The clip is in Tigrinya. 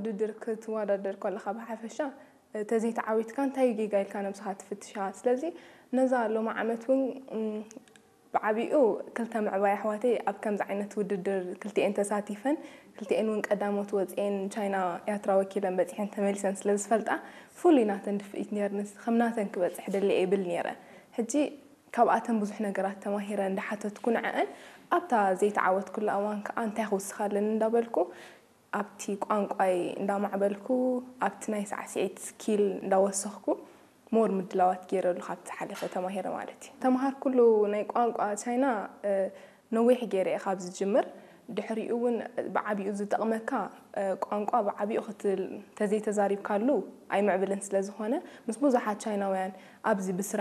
ውድድር ክትወዳደር ከለኻ ብሓፈሻ ተዘይተዓዊትካ እንታይ ጌጋ ኢልካ ነብስኻ ትፍትሻ። ስለዚ ነዛ ሎሚ ዓመት እውን ብዓቢኡ ክልተ ምዕባይ ኣሕዋተይ ኣብ ከምዚ ዓይነት ውድድር ክልቲኤን ተሳቲፈን፣ ክልቲኤን እውን ቀዳሞት ወፅኤን ቻይና ያትራ ወኪለን በፂሐን ተመሊሰን ስለ ዝፈልጣ ፍሉይ ናተን ድፍኢት ነርንስ ከም ናተን ክበፅሕ ደሊ እብል ነረ። ሕጂ ካብኣተን ብዙሕ ነገራት ተማሂረ እንዳሓተትኩ ንዐአን ኣብታ ዘይተዓወትኩላ እዋን ከዓ እንታይ ክውስኻለን እንዳበልኩ ኣብቲ ቋንቋይ እንዳማዕበልኩ ኣብቲ ናይ ሳዕስዒት ስኪል እንዳወሰኽኩ ሞር ምድላዋት ገይረሉ ካብቲ ሓለፈ ተማሂረ ማለት እዩ። ተምሃርኩሉ ናይ ቋንቋ ቻይና ነዊሕ ገይረ እየ ካብ ዝጅምር። ድሕሪኡ እውን ብዓቢኡ ዝጠቕመካ ቋንቋ ብዓቢኡ ክትል ተዘይተዛሪብካሉ ኣይምዕብልን ስለ ዝኾነ ምስ ብዙሓት ቻይናውያን ኣብዚ ብስራ